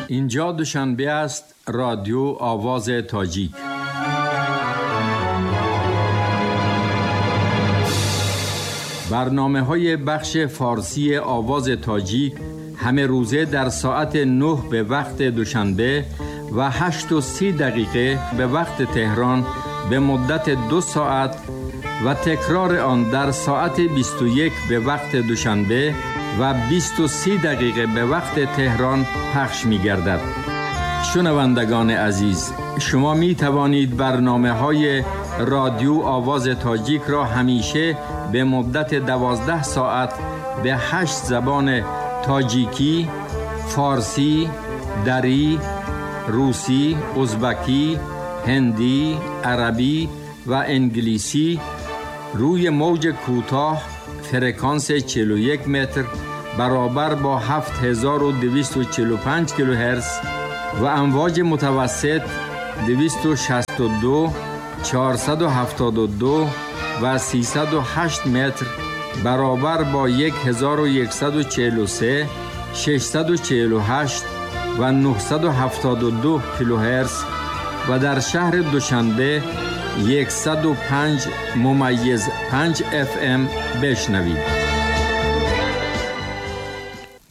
Инҷо Душанбе аст, радио Овози Тоҷик. Барномаҳои бахши форсии Овози Тоҷик ҳама рӯза дар соати 9 ба вақти Душанбе ва 8:30 ба вақти Теҳрон ба муддати 2 соат ва такрори он дар соати 21 ба вақти Душанбе ва 20:30 ба вақти Теҳрон пахш мегардад. Шунавандагони азиз, шумо метавонед барномаҳои радио Овози Тоҷикро ҳамеша ба муддати 12 соат ба 8 забони тоҷикӣ, форсӣ, дарӣ, русӣ, узбакӣ, ҳиндӣ, арабӣ ва англисӣ рӯи мавҷи кӯтоҳ фреквенс 41 метр баробар бо 7245 килогерц ва амвоҷи мутавассит 262, 472 ва 308 метр баробар бо 1143, 648 ва 972 килогерц ва дар шаҳри Душанбе 105.5 FM бишнавед.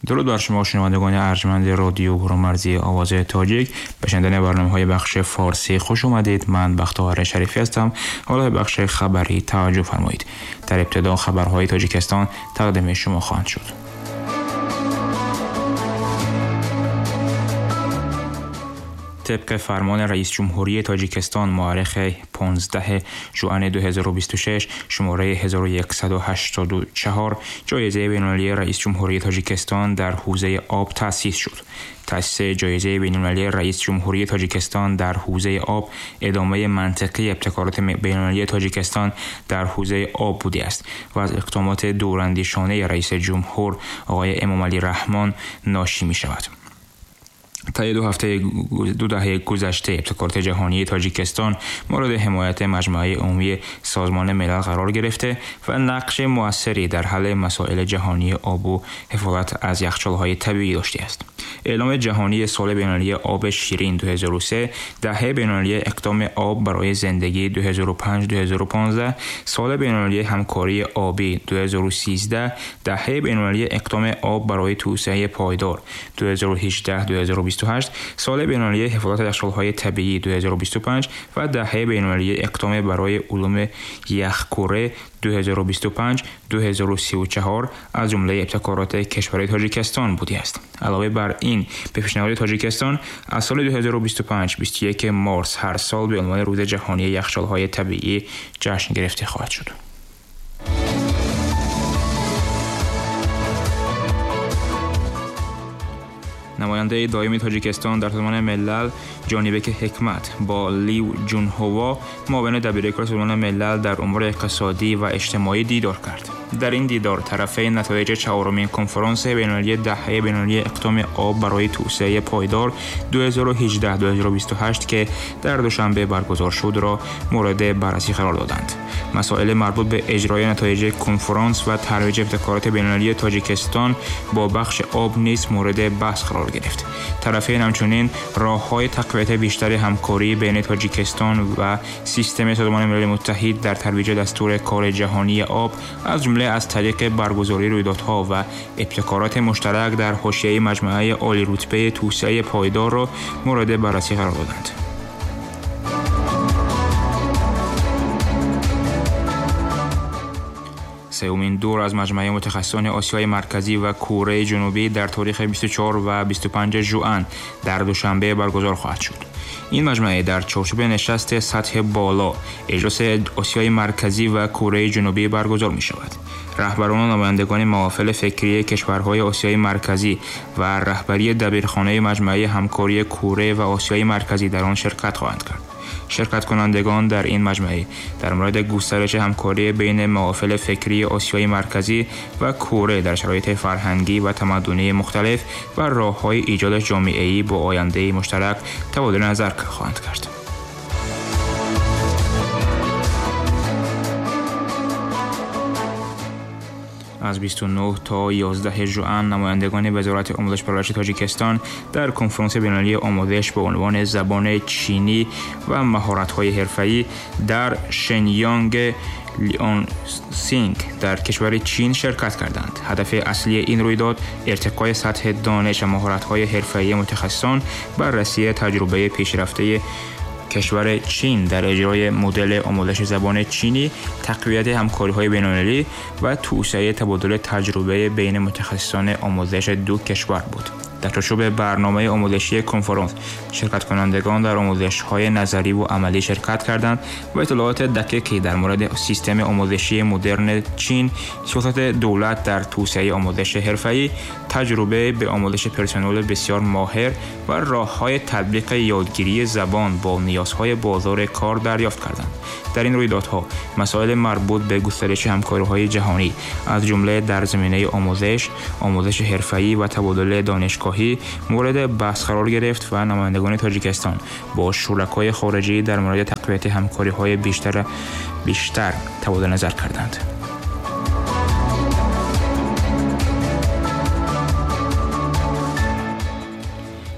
Дуруд бар шумо шунавандагони арҷманди радио Гурӯҳмарзии Овози Тоҷик. Ба шунидани барномаҳои бахши форсӣ хуш омадед. Ман Бахтовар Шарифӣ ҳастам. Ҳоло ба бахши хабарӣ таваҷҷӯҳ фармоед. Дар ибтидо хабарҳои Тоҷикистон тақдими шумо хоҳанд шуд. Тибқи фармони раис ҷумҳурии Тоҷикистон муаррихи 15 ژوئن 2026 шумораи 1184 ҷоизаи байналмилалии раис ҷумҳурии Тоҷикистон дар ҳавзаи об таъсис шуд. Таъсиси ҷоизаи байналмилалии раис ҷумҳурии Тоҷикистон дар ҳавзаи об идомаи мантиқии ибтикороти байналмилалии Тоҷикистон дар ҳавзаи об будааст ва аз иқдомоти дурандешонаи раис ҷумҳур оқои Эмомалӣ Раҳмон ношӣ мешавад. طی دو دهه گذشته ابتکارات جهانی تاجیکستان مورد حمایت مجمع عمومی سازمان ملل قرار گرفته و نقش موثری در حل مسائل جهانی آب و حفاظت از یخچال‌های طبیعی داشته است. اعلام جهانی سال بین‌المللی آب شیرین 2003، دهه بین‌المللی اقدام آب برای زندگی 2005-2015، سال بین‌المللی همکاری آبی 2013، دهه بین‌المللی اقدام آب برای توسعه پایدار 2018-2028، سال بین‌المللی حفاظت یخچال‌های طبیعی 2025 و دهه بین‌المللی اقدام برای علوم یخکوره 2025-2034 از جمله ابتکارات کشور تاجیکستان بوده است. علاوه بر این، به پیشنهاد تاجیکستان از سال 2025 21 مارس هر سال به عنوان روز جهانی یخچال‌های طبیعی جشن گرفته خواهد شد. نماینده دائمی تاجیکستان در سازمان ملل جانبک حکمت با لیو جونهوا معاون دبیرکل سازمان ملل در امور اقتصادی و اجتماعی دیدار کرد. در این دیدار طرفین نتایج چهارمین کنفرانس بین‌المللی دهه بین‌المللی اقدام آب برای توسعه پایدار 2018-2028 که در دوشنبه برگزار شد را مورد بررسی قرار دادند. مسائل مربوط به اجرای نتایج کنفرانس و ترویج ابتکارات بین‌المللی تاجیکستان با بخش آب نیز مورد بحث قرار گرفت. طرفین همچنین راه‌های تقویت بیشتر همکاری بین تاجیکستان و سیستم سازمان ملل متحد در ترویج دستور کار جهانی آب از جمله از طریق برگزاری رویدادها و ابتکارات مشترک در حاشیه مجمع عالی رتبه توسعه پایدار را مورد بررسی قرار دادند. سومین دور از مجمع متخصصان آسیای مرکزی و کره جنوبی در تاریخ 24 و 25 ژوئن در دوشنبه برگزار خواهد شد. این مجمع در چارچوب نشست سطح بالا اجلاس آسیای مرکزی و کره جنوبی برگزار می شود. رهبران و نمایندگان محافل فکری کشورهای آسیای مرکزی و رهبری دبیرخانه مجمع همکاری کره و آسیای مرکزی در آن شرکت خواهند کرد. شرکت کنندگان در این مجمع در مورد گسترش همکاری بین محافل فکری آسیای مرکزی و کره در شرایط فرهنگی و تمدنی مختلف و راه‌های ایجاد جامعه‌ای با آینده مشترک تبادل نظر خواهند کرد. Аз 29 то 11 ژوئن نمایندگان وزارت آموزش پرورش تاجیکستان در کنفرانس بین‌المللی آموزش به عنوان زبان چینی و مهارت‌های حرفه‌ای در شنیانگ لیانسینگ در کشور چین شرکت کردند. هدف اصلی این رویداد ارتقای سطح دانش و مهارت‌های حرفه‌ای متخصصان، بررسی تجربه پیشرفته کشور چین در اجرای مدل آموزش زبان چینی، تقویت همکاری‌های بین‌المللی و توسعه تبادل تجربه بین متخصصان آموزش دو کشور بود. در چارچوب برنامه آموزشی کنفرانس، شرکت کنندگان در آموزش‌های نظری و عملی شرکت کردند و اطلاعات دقیقی در مورد سیستم آموزشی مدرن چین، سیاست دولت در توسعه آموزش حرفه‌ای، تجربه به آموزش پرسنل بسیار ماهر و راه‌های تطبیق یادگیری زبان با نیازهای بازار کار دریافت کردند. در این رویدادها مسائل مربوط به گسترش همکاری‌های جهانی از جمله در زمینه آموزش، آموزش حرفه‌ای و تبادل دانشگاهی مورد بحث قرار گرفت و نمایندگان تاجیکستان با شرکای خارجی در مورد تقویت همکاری‌های بیشتر تبادل نظر کردند.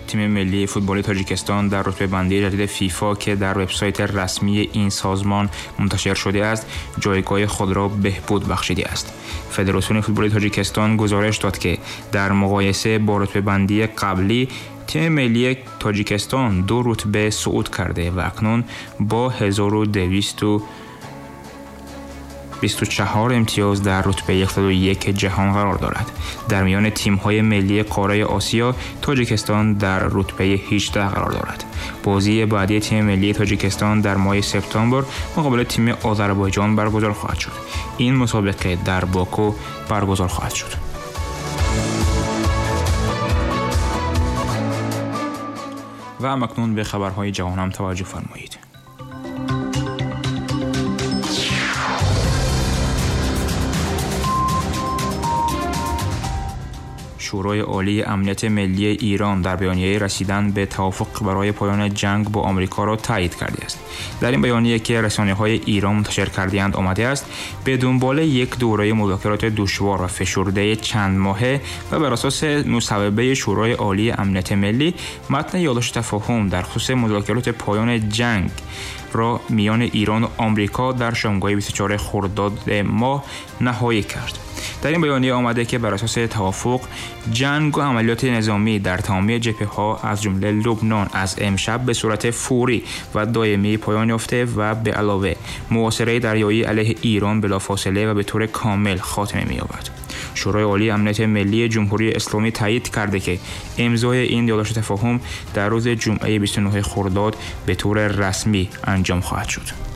تیم ملی فوتبال تاجیکستان در رتبه بندی جدید فیفا که در وبسایت رسمی این سازمان منتشر شده است، جایگاه خود را بهبود بخشیده است. فدراسیون فوتبال تاجیکستان گزارش داد که در مقایسه با رتبه بندی قبلی، تیم ملی تاجیکستان 2 رتبه صعود کرده و اکنون با 1224 امتیاز در رتبه 101 جهان قرار دارد. در میان تیم‌های ملی قاره آسیا، تاجیکستان در رتبه 18 قرار دارد. بازی بعدی تیم ملی تاجیکستان در ماه سپتامبر مقابل تیم آذربایجان برگزار خواهد شد. این مسابقه در باکو برگزار خواهد شد. و اکنون به خبرهای جهان هم توجه فرمایید. شورای عالی امنیت ملی ایران در بیانیه رسیدن به توافق برای پایان جنگ با آمریکا را تایید کرده است. در این بیانیه که رسانه‌های ایران منتشر کرده‌اند آمده است به دنبال یک دوره مذاکرات دشوار و فشرده چند ماهه و بر اساس مصوبه شورای عالی امنیت ملی، متن یادداشت تفاهم در خصوص مذاکرات پایان جنگ را میان ایران و آمریکا در شامگاه 24 خرداد ماه نهایی کرد. در این بیانیه آمده که بر اساس توافق، جنگ و عملیات نظامی در تمامی جبهه‌ها از جمله لبنان از امشب به صورت فوری و دائمی پایان یافته و به علاوه محاصره دریایی علیه ایران بلافاصله و به طور کامل خاتمه می‌یابد. شورای عالی امنیت ملی جمهوری اسلامی تایید کرده که امضای این یادداشت تفاهم در روز جمعه 29 خرداد به طور رسمی انجام خواهد شد.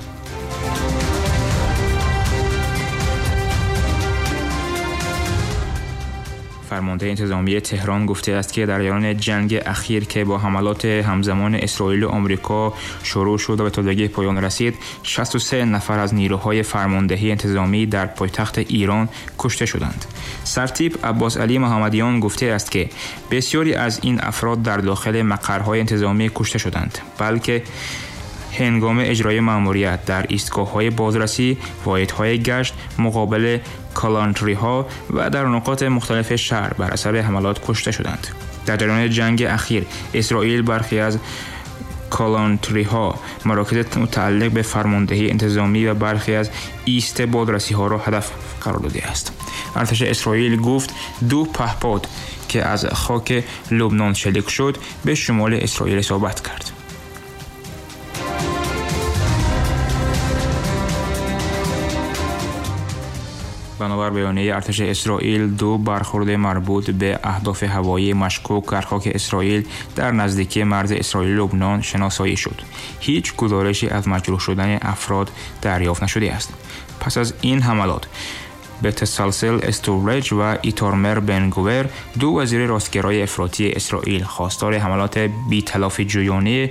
فرمانده انتظامی تهران گفته است که در جریان جنگ اخیر که با حملات همزمان اسرائیل و آمریکا شروع شد و به تازگی پایان رسید، 63 نفر از نیروهای فرماندهی انتظامی در پایتخت ایران کشته شدند. سرتیپ عباس علی محمدیان گفته است که بسیاری از این افراد در داخل مقرهای انتظامی کشته شدند، بلکه هنگام اجرای مأموریت در ایستگاه‌های بازرسی، واحدهای گشت مقابل کالانتری‌ها و در نقاط مختلف شهر بر اثر حملات کشته شدند. در جریان جنگ اخیر اسرائیل برخی از کالانتری‌ها، مراکز متعلق به فرماندهی انتظامی و برخی از ایست بازرسی‌ها را هدف قرار داده است. ارتش اسرائیل گفت 2 پهپاد که از خاک لبنان شلیک شد به شمال اسرائیل اصابت کرد. بنابر بیانیه ارتش اسرائیل، 2 برخورد مربوط به اهداف هوایی مشکوک در خاک اسرائیل در نزدیکی مرز اسرائیل لبنان شناسایی شد. هیچ گزارشی از مجروح شدن افراد دریافت نشده است. پس از این حملات، بتسلسل استورج و ایتارمر بنگوور، 2 وزیر راستگرای افراطی اسرائیل، خواستار حملات بی‌تلافی جویانه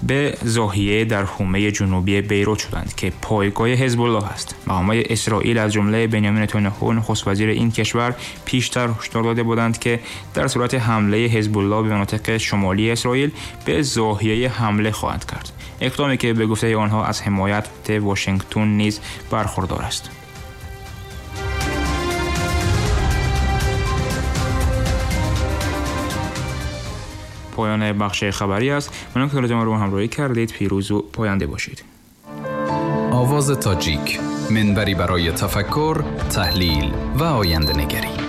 به زاهیه در حومه جنوبی بیروت شدند که پایگاه حزب الله است. مقامات اسرائیل از جمله بنیامین نتانیاهو نخست وزیر این کشور پیشتر هشدار داده بودند که در صورت حمله حزب الله به مناطق شمالی اسرائیل به زاهیه حمله خواهند کرد، اقدامی که به گفته آنها از حمایت واشنگتن نیز برخوردار است. پایان بخش خبری است. ممنون که ما رو همراهی کردید. پیروز و پاینده باشید. آواز تاجیک، منبری برای تفکر، تحلیل و آینده نگری.